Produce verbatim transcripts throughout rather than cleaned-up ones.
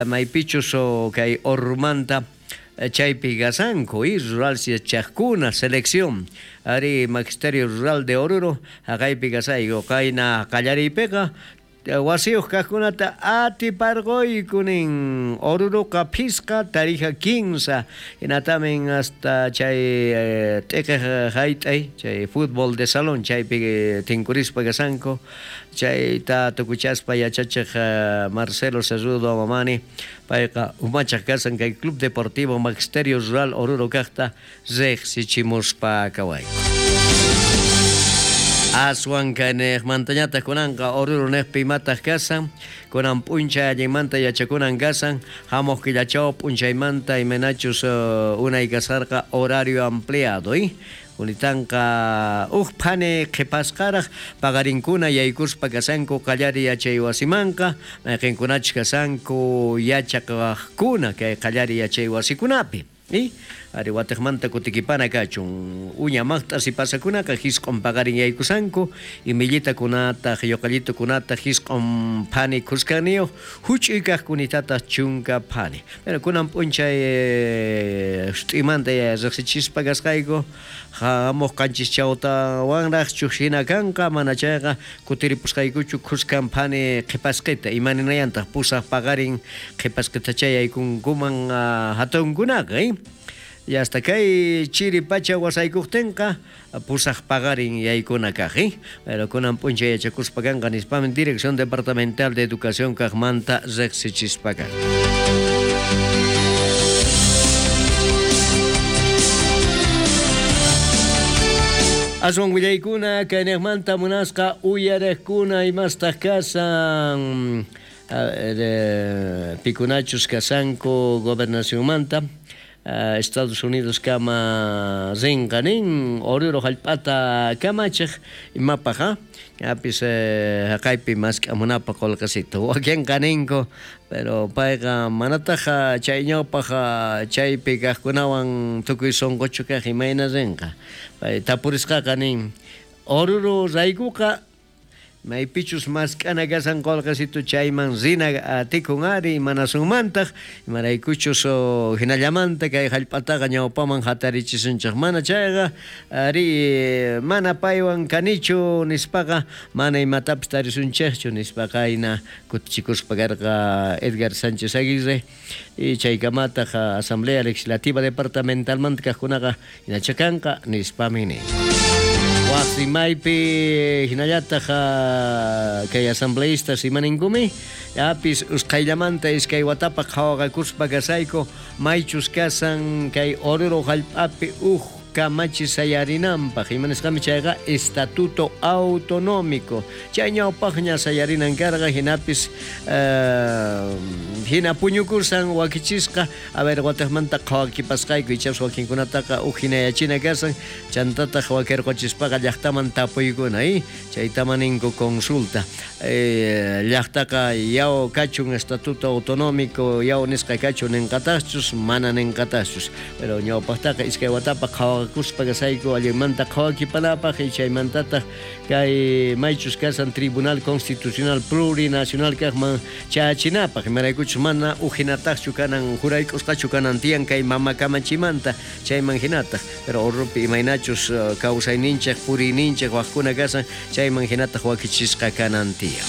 Maypichus kay Ormanta chaypi gasanku y rural yachaqkuna selección ari Magisterio Rural de Oruro haqaypi gasayku qayna qallariypiqa wasiyuq kaqkunata atiparquyku nin Oruruqa phisqa Tarija kinsa hinatamin hasta chay t'iqiq hayt'ay chay fútbol de salón chaypi tinkurispa gasanku chayta tukuchaspa yachachiq Marcelo Cerrudo Mamani payqa umachaq kasan kay Club Deportivo Magisterio Rural Oruro kaqta riqsichimuspa kawayku. Aswan kaniqmantañataq kunanqa Oruro niqpi imataq kasan kunan p'unchay allinmanta yachakunan kasan hamuq killachaw p'unchaymanta imaynachus unay kasarqa horario ampliado y Unitanqa uj phani qhipasqaraq paqarinkuna yaykuspa kasanku qallari yachay wasimanqa mayqinkunachus kasanku yachaqaqkuna kay qallari yachay wasikunapi y ari watiqmanta kutikipana kachun uña maqt'as pasakunaqa hisq'un paqarin yaykusanku imillitakunataq yuqallitukunataq hisq'un phani khuskaniyuq huch'uy kaqkunitataq chunka phani pero kunan p'unchay sut'imanta riqsichispa kasqayku hamuq qanchis chawtawanraqchu hina kanqa mana chayqa kutiripusqaykuchu khuskan phani qhipasqita imaninayantaq pusaq paqarin qhipasqitacha yaykunkuman hatunkunaqa eh y hasta kay chiri pacha wasaykuqtinqa pusaq paqarin yaykuna kaq eh pero kunan p'unchay yachakuspa kanqa nispamin Dirección Departamental de Educación kaqmanta riqsichispa kanqa. Aswan willaykuna kayniqmanta munasqa uyariqkuna imastaq kasan pikunachus kasanku gobernacionmanta Estados Unidos kama rinqa nin Oruro hallp'ata kamachiq imapaq apis haqaypi mask'amunapaq qullqisita wakinqa ninku pero payqa manataq chay ñawpaq chaypi kaqkunawan tukuy sunquchu kaq imayna rinqa pay tapurisqaqa nin Oruro raykuqa maypichus mask'ana kasan qullqisitu chayman rina atikun ari imanasunmantaq imaraykuchus hinallamanta kay hallp'ataqa ñawpaman hatarichisunchik mana chayqa ari mana paywan kanichu nispaqa mana imatapis tarisunchikchu nispaqa ayna kutichikuspa karqa Edgar Sánchez Aguirre y chaykamataq Asamblea Legislativa Departamentalmanta kaqkunaqa hinachakanqa nispami nin. Waqrimaypi hinallataq kay asambleístas imaninkumi apis usqhayllamanta iskay watapaq qhawaqakuspa kasayku maychus kasan kay Oruro hallp'api uj kamachi sayarinanpaq imanisqami chayqa estatuto autonómico chay ñawpaqña sayarinan karqa hinapis hina puñukusan wakichisqa a ver watiqmanta qhawakipasqayku ichapas wakinkunataqa uj hinayachina kasan chantataq wakirquchispaqa llaqtaman tapuykuna eh chaytaman ninku consulta llaqtaqa yaw kachun estatuto autonómico yaw nisqa kachun ninqataqchus mana ninqataqchus pero ñawpaqtaqa iskay watapaq qhawa kuspa kasayku allinmanta qhawakipanapaq y chaymantataq kay maychus kasan Tribunal Constitucional Plurinacional kaqman chachinapaq imaraykuchus mana ujinataqchu kanan jurayk'usqachu kanan tiyan kay mama kamachimanta chayman hinataq pero Oruropi imaynachus kawsayninchik puriyninchik waqkuna kasan chayman hinataq wakichisqa kanan tiyan.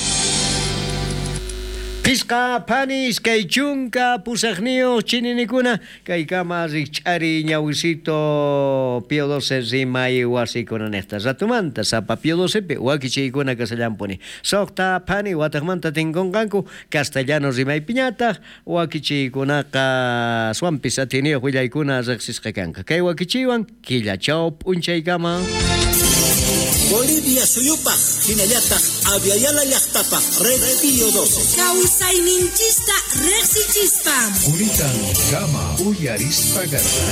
Pisqa phani iskay chunka pusaqniyuq chininikuna kaykama rikch'ari ñawisito Pío doce rimay wasikuna niqta ratumanta sapa Pío docepi wakichiykuna kasallampuni suqta phani wataqmanta tinkunqanku castellano rimaypiñataq wakichiykunaqa aswanpis atiyniyuq willaykuna riqsisqa kanqa kay wakichiywan killachaw p'unchaykama. Bolivia suyupaq hinallataq Aviala llaqtapaq Red Pío doce. Kawsayninchista riqsichispa. Quritan kama uyarispa.